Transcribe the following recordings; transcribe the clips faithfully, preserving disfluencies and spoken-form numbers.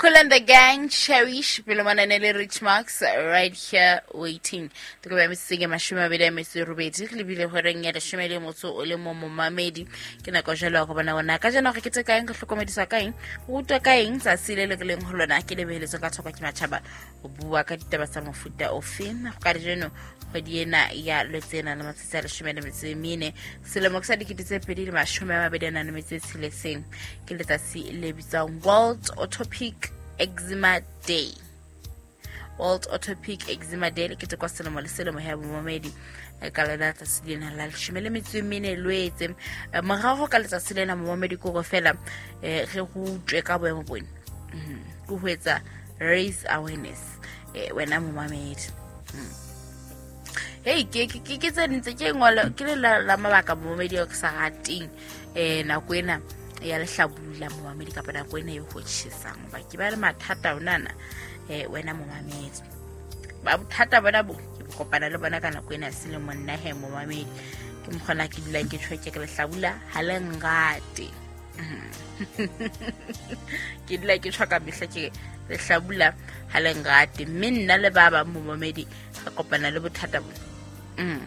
Kool and the Gang, Cherish, pele mona ne le Rich Marks, right here waiting. Toko ba metseng mashome a mabedi a metso e robedi, re lebile horeng ya leshome le motso o le mo momamedi. Ke nako jalo ya go bona bona ka jana gore ke tse kaeng, re hlokomediswa ka eng, go rutwa ka eng tsatsi le le re leng ho lona. Ke lebeletswe ka thoko ke matjhaba ho bua ka ditaba tsa mofuta ofe. Ka kajeno kgwedi ena ya Lwetse ena le matsatsi a leshome le metso e mene, selemo ke sa dikete tse pedi le mashome a mabedi a nang le metso e tsheletseng. Ke letsatsi le bitswang World Atopic Eczema Day. World Atopic Eczema Day le ketekwa selemo le selemo ya bomamedi ka lona letsatsi lena la leshome le metso e mene Lwetse. Morago ka letsatsi lena momamedi ke hore fela re rutwe ka boemo bona, ke ho etsa raise awareness wena momamedi. Hey, ke ke ke tse ntse ke ngolo ke le la mabaka momamedi o ke sa rateng eh nako ena ya lehlabula momamedi kapa nako ena e ho tjhesang, ba ke ba le mathata onana eh wena momamedi. Ba bothata bona bo ke kopana le bona ka nako ena selemo nna he momamedi ke mokgona ke dula ke tjho ke lehlabula ha le ngate. Ke dula ke tjho ka mehla ke lehlabula ha le ngate, mme nna le ba bang momamedi re kopana le bothata bo. Mm.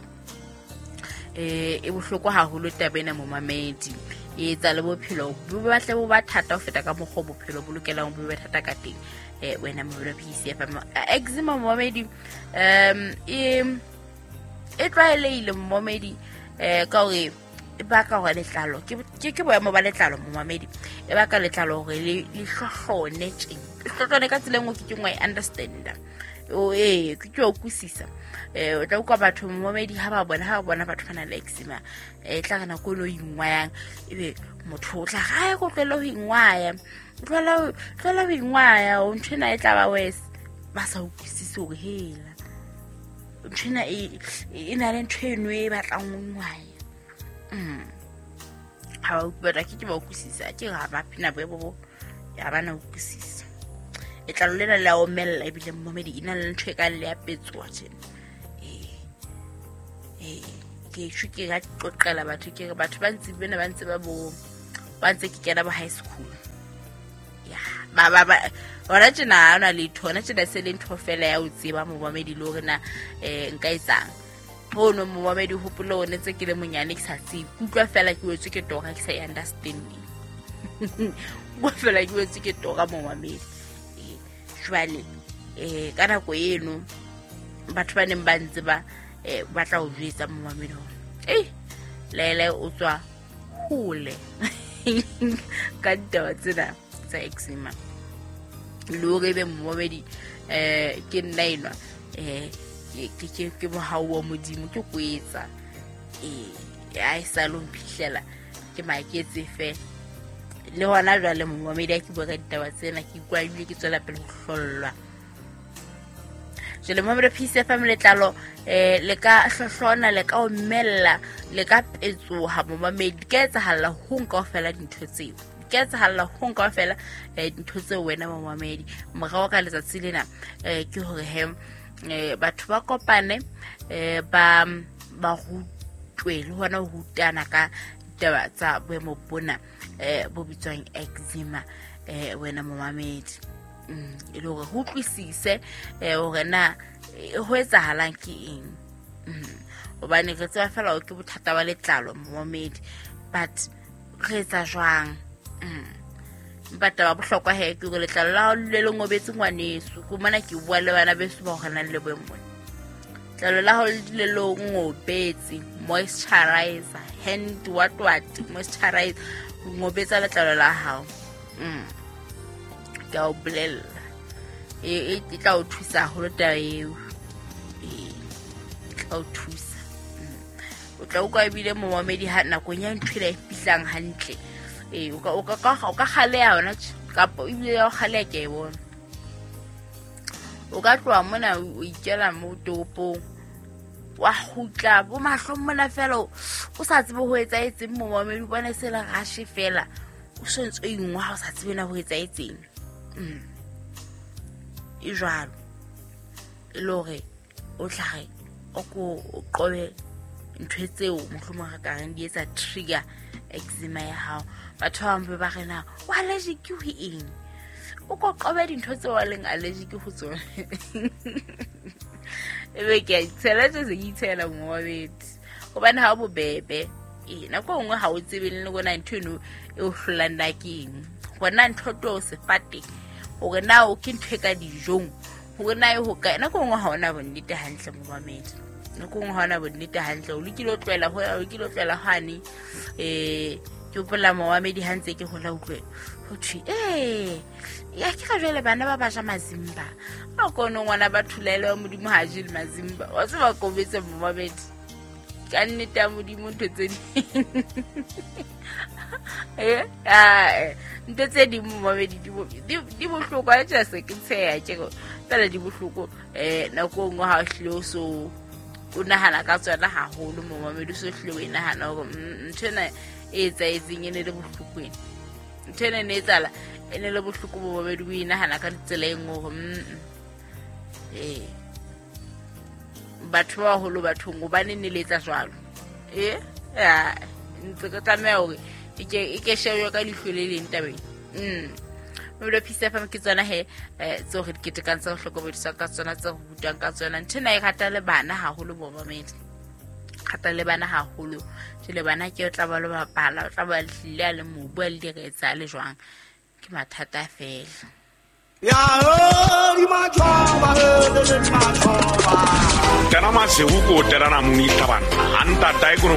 Eh e bohloko haholo taba ena momamedi, e etsa le bophelo bo batle bo ba thata ho feta ka mokgwa bophelo bo lokelang bo be thata ka teng. Eh wena momamedi P C F M eczema momamedi um e e tlwaelehile momamedi eh ka hore e baka hore letlalo ke ke boemo ba letlalo momamedi, e baka letlalo hore le le hlohlone tjeng, le hlohlone ka tsela e nngwe ke ke nngwe e understand o eh ke ke o kusisa. Eh o tla utlwa batho momamedi ha ba bona ha ba bona batho ba nang le eczema eh tla re nako e no ingwayang ebe motho o tla ga go tlohela ho ingwaya, tlohela tlohela ho ingwaya o ntho ena e tla ba worse, ba sa utlwisise hore hela ntho ena e e na le ntho eno e batlang ho ingwaya. Mm. Ha ba utlwa ke ke ba utlwisisa ke ga ba phina boemo bo ya ba na utlwisisa. Letlalo lena le a omella ebile momamedi e na le ntho e ka le ya petsoa tjena. Eh eh ke tjho ke ga qoqela batho ke re batho ba ntse bena ba ntse ba bo ba ntse ke kena ba high school. Ya ba ba ba hona tjena ha ona letho, hona tjena se le ntho fela ya o tseba momamedi le hore na eh nka etsang. Hono momamedi hopolo o ne tse ke le monyane ke sa tsebe, ke utlwa fela ke wetswe ke tora ke sa e understanding. Utlwa fela ke wetswe ke tora momamedi. Jwale eh ka nako eno batho ba neng ba ntse ba eh ba tla o jwetsa momamedi hore eh lele o tswa hole ka ditaba tsena tsa eczema. Le hore ebe momamedi eh ke nna enwa eh ke ke ke mohau wa Modimo ke kwetsa eh a e sa lo mpihlela ke maketse fela. Le hona jwale momamedi a ke bua ka ditaba tsena ke ikwa ebile ke tswela pele ho hlollwa. Jwale momamedi P C F M letlalo eh le ka hlohlona, le ka omella, le ka petsoha momamedi, di ka etsahalla ho nka kaofela dintho tseo, di ka etsahalla ho nka kaofela dintho tseo wena momamedi. Morao ka letsatsi lena eh ke hore he eh batho ba kopane eh ba ba rutwe le hona ho rutana ka ditaba tsa boemo bona eh bo bitswang eczema eh wena momamedi. Mm e le hore ho utlwisise eh hore na ho etsahalang ke eng. Mm hobane re tseba fela hore ke bothata ba letlalo momamedi, but re etsa jwang? Mm empa taba bohlokwa he ke hore letlalo la hao le le ngobetse ngwaneso, ke mona ke bua le bana beso ba hore nang le boemo bona. Letlalo la hao le dule le ngobetse, moisturizer, hand what what moisturizer, ngobetsa letlalo la hao. Mm ke a o bolella e e tla o thusa haholo taba eo, e tla o thusa. O tla utlwa ebile momamedi ha nakong ya ntho ena e fihlang hantle eh o ka o ka o ka kgaleha hona kapa ebile ya o kgaleha ke e bona. O ka tloha mona o ikela mo toropong wa kgutla bo mahlong mona fela o sa tsebe ho etsaetseng momamedi, o bona se le rashe fela o so ntse o ingwa ha o sa tsebe na ho etsaetseng. Mm. E jwalo e le hore o tla re o ko o qobe ntho tseo mohlomong re ka reng di etsa trigger eczema ya hao. Batho ba bang ba re na o allergic ho eng? O ko qobe dintho tseo a leng allergic ho tsona. Ebe ke a itshela tse se ke itshela momamedi. Hobane ha o bobebe. Ee, nako e nngwe ha o tsebe le hore na ntho eno e o hlolang na ke eng. Hore na ntho to sefate, hore na o ke ntho e ka dijong, hore na e hokae. Nako e nngwe ha ona bonnete hantle momamedi. Nako e nngwe ha ona bonnete hantle. O lokile o tlohela ho, o lokile o tlohela hwane. Eh, ke hopola momamedi ha ntse ke hola utlwe ho thwe, eh, ya ke ra jwale bana ba ba ja mazimba. Ha o kone ngwana ba thulaele wa Modimo ha je le mazimba. Wa tseba kobetse momamedi. Ka nnete ya Modimo ntho tse ding. Eh, ah, ntho tse ding momamedi di bo- di di bohloko. Ha tjhe se ke tsheha tje fela di bohloko. Eh, nako e nngwe ha o hlile o so o nahana ka tsona haholo momamedi, o so hlile o e nahana hore mm, ntho ena e etsahetseng e ne le bohloko ena. Ntho ena e ne etsahala e ne le bohloko momamedi, o e nahana ka tsela e nngwe hore mm, eh batho ba baholo bathong hobane ne le etsa jwalo. Eh, ya ntse ke tlameha hore e ke e ke shejwe ka leihlo le leng tabeng. Mm. Mabelo Peace F M ke tsona he, eh, tseo re di ketekang, tseo re hlokomediswang ka tsona, tseo re rutwang ka tsona. Ntho ena e rata le bana haholo momamedi. Rata le bana haholo. Jwale bana ke o tla ba lo bapala, o tla ba hlile a le mobu, a le diretse, a le jwang. Ke mathata feela. Ya ho di matjhoba, he di matjhoba. Tena masihu ko tera na muni tabana. Anta tai ko